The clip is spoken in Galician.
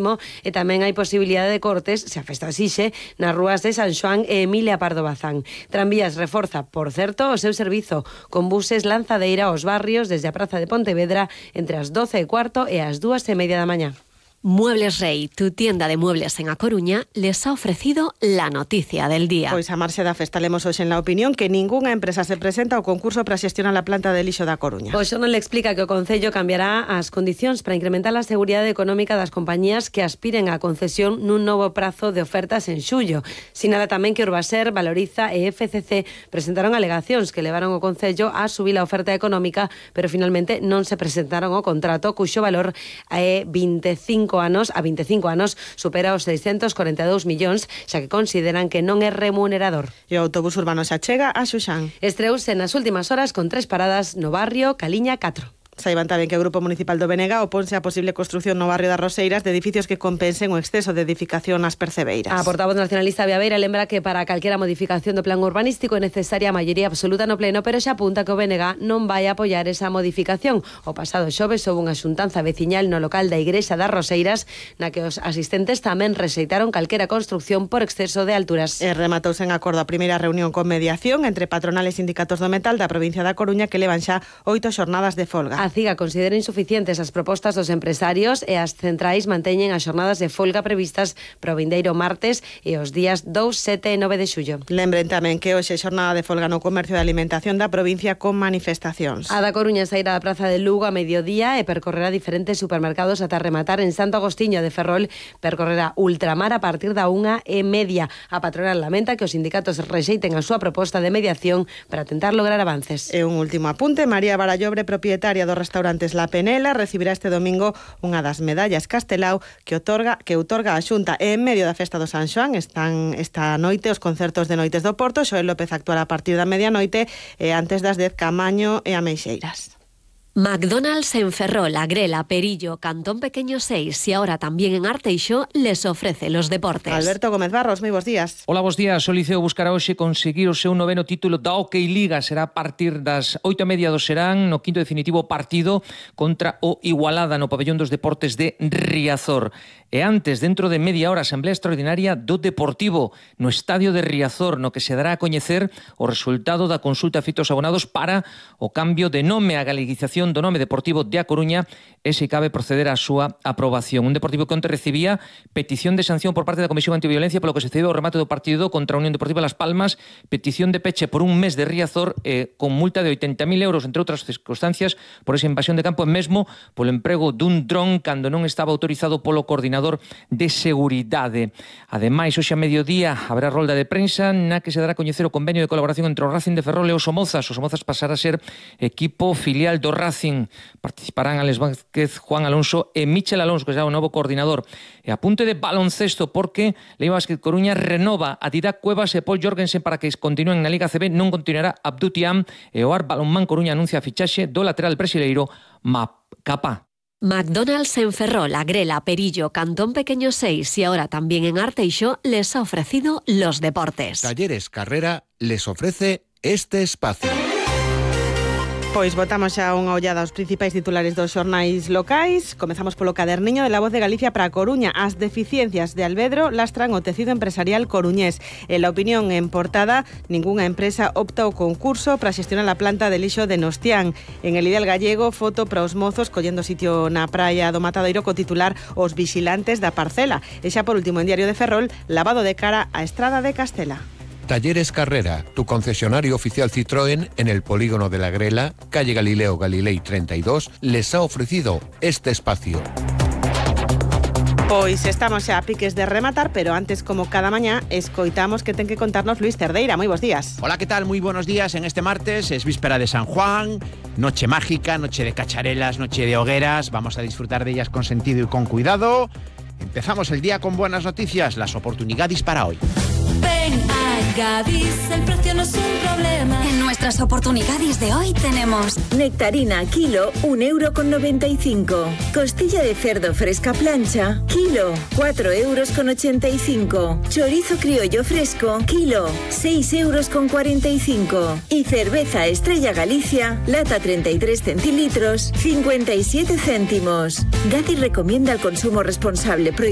e tamén hai posibilidade de cortes, se a festa asixe, nas rúas de San Xoán e Emilia Pardo Bazán. Tranvías reforza, por certo, o seu servizo con buses lanzadeira aos barrios desde a Praza de Pontevedra entre as 12:15 e as 2:30 da mañá. Muebles Rey, tu tienda de muebles en A Coruña, les ha ofrecido la noticia del día. Pois a marxe da festa lemos hoxe en La Opinión que ningunha empresa se presenta ao concurso para xestionar a planta de lixo da Coruña. O xornal explica que o Concello cambiará as condicións para incrementar a seguridade económica das compañías que aspiren á concesión nun novo prazo de ofertas en xullo. Sinala tamén que Urbaser, Valoriza e FCC presentaron alegacións que levaron o Concello a subir a oferta económica, pero finalmente non se presentaron o contrato, cuxo valor é 25 anos supera os 642 millóns, xa que consideran que non é remunerador. E o autobús urbano xa chega a Xuxán. Estreouse nas últimas horas con 3 paradas no barrio Caliña 4. Saiban tamén que o Grupo Municipal do Benega oponse a posible construción no barrio das Roseiras de edificios que compensen o exceso de edificación nas Percebeiras. A portavoz nacionalista Viaveira lembra que para calquera modificación do plan urbanístico é necesaria a maioría absoluta no pleno, pero xa apunta que o Benega non vai a apoiar esa modificación. O pasado xoves houve unha xuntanza veciñal no local da Igrexa das Roseiras na que os asistentes tamén rexeitaron calquera construción por exceso de alturas. E rematouse en acordo a primeira reunión con mediación entre patronales e sindicatos do metal da provincia da Coruña que levan xa 8 xornadas de folga. A CIGA considera insuficientes as propostas dos empresarios e as centrais manteñen as xornadas de folga previstas para o vindeiro martes e os días 2, 7 e 9 de xullo. Lembren tamén que hoxe xornada de folga no comercio de alimentación da provincia con manifestacións. A da Coruña sairá da Praza de Lugo a mediodía e percorrerá diferentes supermercados ata rematar en Santo Agostinho de Ferrol, percorrerá Ultramar a partir da 1:30. A patronal lamenta que os sindicatos rexeiten a súa proposta de mediación para tentar lograr avances. E un último apunte, María Barallobre, propietaria do restaurante La Penela, recibirá este domingo unha das medallas Castelao que outorga a Xunta. E en medio da festa do San Xoán están esta noite os concertos de Noites do Porto. Xoel López actuará a partir da medianoite e antes das 10 Camaño e Ameixeiras. McDonald's en Ferrol, Agrela, Perillo, Cantón Pequeño 6 y ahora también en Arteixo les ofrece los deportes. Alberto Gómez Barros, moi bons días. Hola, bons días. O Liceo buscará hoxe conseguir o seu 9º título da Hockey Liga. Será a partir das 8:30 do serán no quinto definitivo partido contra o Igualada no pabellón dos deportes de Riazor. E antes, dentro de media hora, asamblea extraordinaria do Deportivo no estadio de Riazor, no que se dará a coñecer o resultado da consulta a fitos abonados para o cambio de nome, a galeguización do nome Deportivo de A Coruña e se cabe proceder á súa aprobación. Un Deportivo que onte recibía petición de sanción por parte da Comisión Antiviolencia polo que se cedeu o remate do partido contra a Unión Deportiva Las Palmas, petición de peche por un mes de Riazor con multa de 80.000 euros, entre outras circunstancias, por esa invasión de campo e mesmo polo emprego dun dron cando non estaba autorizado polo coordinador de seguridade. Ademais, hoxe a mediodía haberá rolda de prensa na que se dará a coñecer o convenio de colaboración entre o Racing de Ferrol e os Somozas. Os Somozas pasará a ser equipo filial do Racing. Participarán Alex Vázquez, Juan Alonso e Michel Alonso, que será o novo coordinador. E apunte de baloncesto porque Leiva Basket Coruña renova a Didac Cuevas e Paul Jorgensen para que continúen na Liga CB. Non continuará Abdou Tiam e o Ar Balonmán Coruña anuncia a fichaxe do lateral brasileiro Macapá. McDonald's en Ferrol, Agrela, Perillo, Cantón Pequeño 6 y ahora también en Arteixo les ha ofrecido los deportes. Talleres Carrera les ofrece este espacio. Pois botamos xa unha ollada aos principais titulares dos xornais locais. Comezamos polo caderniño de La Voz de Galicia para a Coruña. As deficiencias de Alvedro lastran o tecido empresarial coruñés. En La Opinión en portada, ningunha empresa opta o concurso para xestionar a planta de lixo de Nostián. En El Ideal Gallego, foto para os mozos collendo sitio na praia do Matadoiro co titular Os vixilantes da parcela. E xa por último en Diario de Ferrol, lavado de cara á Estrada de Castela. Talleres Carrera, tu concesionario oficial Citroën en el polígono de la Grela, calle Galileo Galilei 32, les ha ofrecido este espacio. Pois estamos xa a piques de rematar, pero antes, como cada mañá, escoitamos que ten que contarnos Luis Cerdeira. Moi bons días. Hola, ¿qué tal? Muy buenos días. En este martes es víspera de San Juan, noche mágica, noche de cacharelas, noche de hogueras. Vamos a disfrutar de ellas con sentido y con cuidado. Empezamos el día con buenas noticias, las oportunidades para hoy. Ven a Gadis, el precio no es un problema. En nuestras oportunidades de hoy tenemos nectarina kilo, 1,95 €. Costilla de cerdo fresca plancha, kilo, 4,85 €. Chorizo criollo fresco, kilo, 6,45 €. Y cerveza Estrella Galicia, lata 33 centilitros, 57 céntimos. Gadis recomienda el consumo responsable.